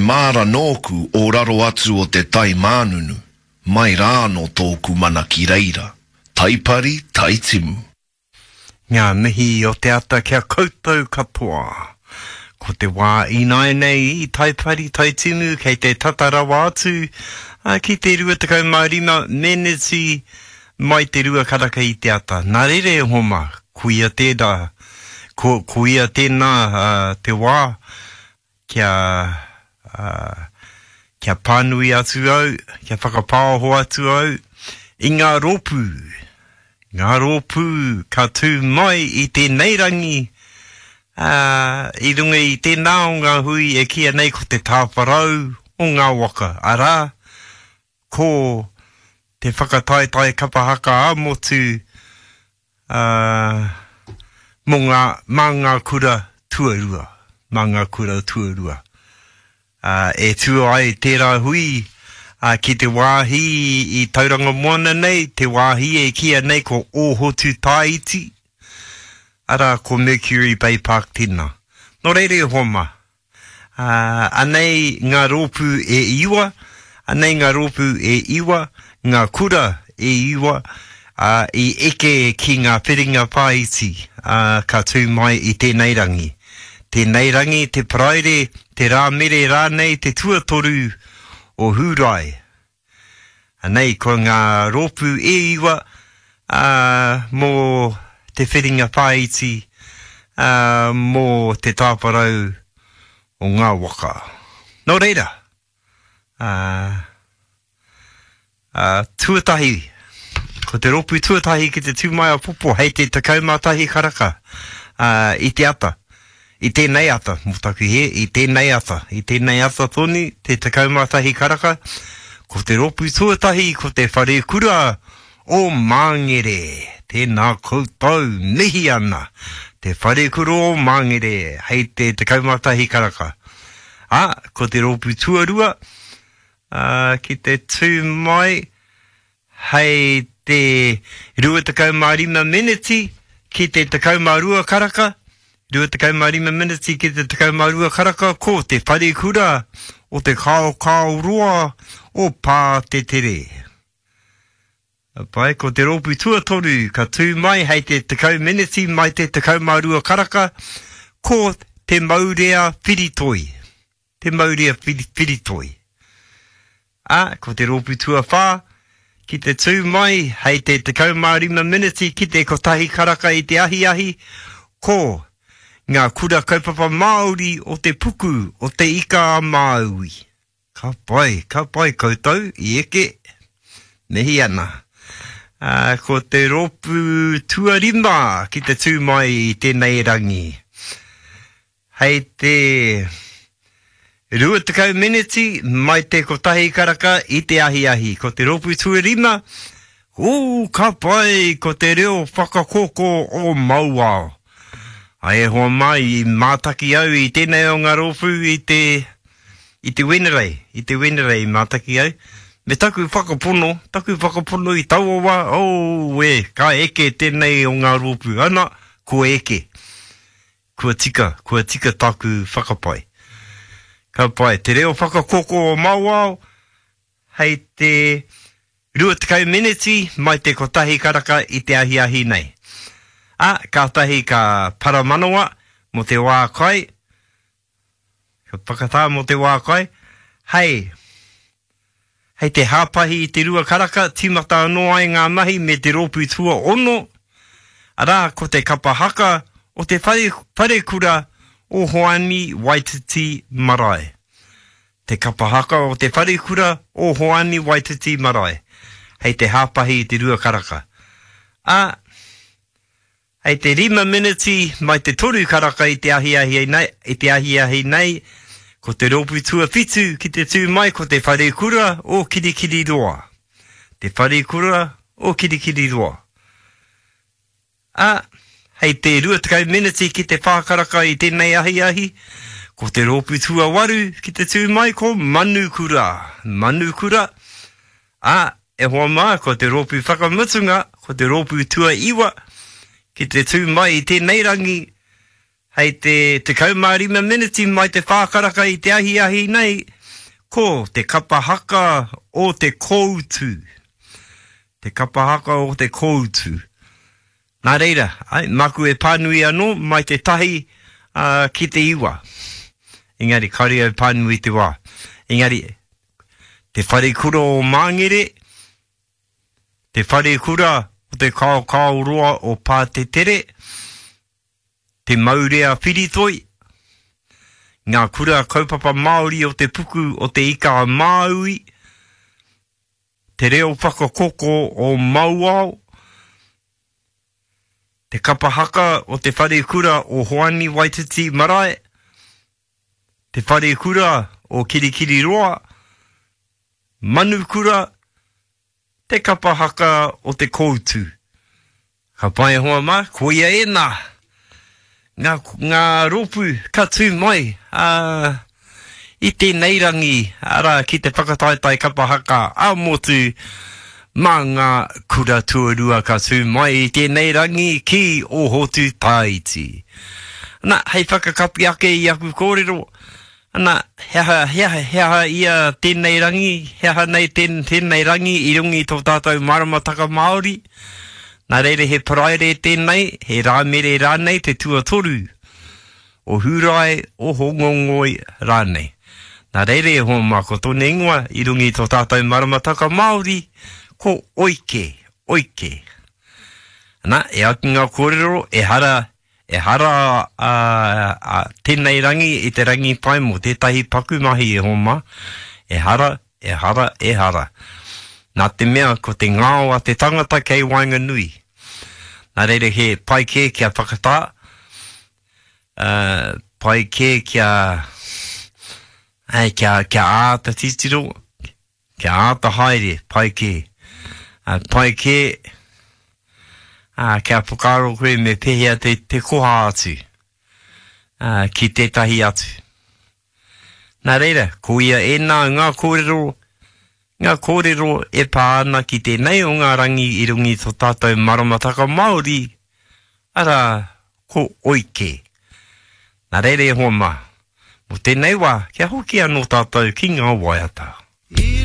māra nōku o raro atu o te tai mānunu, mai rā anō tōku mana ki reira. Taipari, Taitimu. Ngā mihi o te ata ki a koutou katoa. Ko te wā ināianei i Taipari, Taitimu kei te tata rawa atu ki te 25 meneti mai te rua karaka i te ata. Nā reira e hoa mā, koia tērā, ko, koia tēnā te wā kia, kia pānui atu au, kia whakapāoho atu au i ngā rōpū, ngā rōpū ka tū mai i tēnei rangi, ā, i runga i tēnā o ngā hui e kīia nei ko te tāwharau o ngā waka, arā, ko te whakataetae kapa haka ā-motu, ā, mō ngā, mā ngā kura tuarua, mā ngā kura tuarua. Ā, e tū ai tērā hui, ā, ki te wāhi i Tauranga Moana nei, te wāhi e kīia nei ko Ōhotu Tāiti, arā, ko Mercury Bay Park tēnā. Nō reira e hoa mā, Ā, anei ngā rōpū e iwa, anei ngā rōpū e iwa, ngā kura e iwa, ā, i eke ki ngā whiringa whāiti, ā, ka tū mai i tēnei rangi. Tēnei rangi, te Paraire, te Rāmere rānei, te tuatoru o Hūrae. Anei ko ngā rōpū e iwa, ā, mō te whiringa whāiti, ā, mō te tāwharau o ngā waka. Nō reira, ā, ā, tuatahi, ko te rōpū tuatahi ki te tū mai āpōpō hei te 11 karaka, ā, i te ata. I tēnei ata, mō taku hē, i tēnei ata, i tēnei ata tonu, te 11 karaka, ko te rōpū tuatahi ko te Wharekura o Māngere. Tēnā koutou, mihi ana, te Wharekura o Māngere, hei te 11 karaka. Ā, ko te rōpū tuarua, ā, ki te tū mai, Hei te 25 meneti ki te 12 karaka, 25 meneti ki te 12 karaka ko te wharekura o te Kaokaoroa o Pātetere. Pai, ko te rōpū tuatoru ka tū mai hei te 10 meneti mai te 12 karaka ko Te Maurea Whiritoi. Te Maurea Whiritoi. Ā, ko te rōpū tuawhā, ki te tū mai hei te 15 meneti ki te kotahi karaka i te ahiahi, ko Ngā Kura Kaupapa Māori o Te Puku o Te Ika-a-Māui. Ka pai, ka pai koutou i eke, mihi ana. Ā, ko te rōpū tuarima ki te tū mai i tēnei rangi. Hei te 20 meneti mai te kotahi karaka i te ahiahi. Ko te rōpū tuarima, ū, ka pai, ko te reo whakakoko o Mauao. Ai e hoa mā, i mātaki au i tēnei o ngā rōpū i te, i te Wenerei, i te Wenerei i mātaki au. Me taku whakapono, taku whakapono i taua wā, oh, e, ka eke tēnei o ngā rōpū. Ana, kua eke. Kua tika, kua tika tāku whakapae. Ka pai. Te reo whakakoko o Mauao, hei te 20 meneti mai te kotahi karaka i te ahiahi nei. Ā, kātahi ka paramanawa mō te wā kai, ka whakatā mō te wā kai, hei, hei te hāpahi i te rua karaka, tīmata anō ai ngā mahi me te rōpū tuaono, arā, ko te kapa haka o te whare, wharekura o Hoani Waititi Marae. Te kapa haka o te wharekura o Hoani Waititi Marae, hei te hāpahi i te rua karaka. Ā, Hei te rima meneti mai te toru karaka i te ahiahi nei, i te ahiahi nei, ko te rōpū tuawhitu ki te tū mai ko te Wharekura o Kirikiriroa. Te Wharekura o Kirikiriroa. Ā, hei te 20 meneti ki te whā karaka i tēnei ahiahi, ko te rōpū tuawaru ki te tū mai ko Manukura. Manukura, Ā, e hoa mā, ko te rōpū whakamutunga, ko te rōpū tuaiwa, ki te tū mai i tēnei rangi, Hei te 15 meneti mai te whā karaka i te ahiahi nei, ko te kapa haka o te kōutu. Te kapa haka o te kōutu. Nā reira, ai, māku e pānui anō mai te tahi uh, ki te iwa. Engari, kāore au pānui te wā. Engari, te wharekura o Māngere, te wharekura o te Kaokaoroa o Pātetere, Te Maurea Whiritoi, ngā kura kaupapa Māori o te puku o Te Ika a Māui, Te Reo Whakakoko o Mauao, Te Kapa Haka o Te Wharekura o Hoani Waititi Marae, Te Wharekura o Kirikiriroa, Manukura, Te kapa haka o te koutu. Ka pai e hoa mā, koia ēnā. Ngā, ngā rōpū ka tū mai ā, i tēnei rangi, arā, ki te whakataetae kapa haka ā-motu mā ngā kura tuarua ka tū mai i tēnei rangi ki Ōhotu Tāiti. Ana, hei whakakapi ake i aku kōrero, Ana, he aha, he aha, he aha ia tēnei rangi, he aha nei tēn, tēnei rangi i runga i tō tātou maramataka Māori? Nā reira he Paraire tēnei, he Rāmere rānei te tuatoru, o Hūrae, o Hōngongoi rānei. Nā reira e hoa mā, ko tōna ingoa i runga i tō tātou maramataka Māori, ko Oike, Oike. Ana, e ai ki ngā kōrero, ehara Ehara a tēnei rangi i te rangi pai mō tētahi paku mahi e hoa mā. Ehara, ehara, ehara. Nā te mea ko te ngao a te tangata kei waenganui. Nā reira he pai kē kia whakatā, pai kē kia, kia, kia āta titiro, Kia āta haere, pai kē. Ā, pai kē, ā, kia whakaaro koe me pēhea te, te koha atu, ā, ki tētahi atu. Nā reira, ko ia ēnā ngā kōrero, ngā kōrero e pā ana ki tēnei o ngā rangi i runga i tō tātou maramataka Māori, arā, ko Oike. Nā reira e hoa mā, mō tēnei wā, kia hoki anō tātou ki ngā waiata.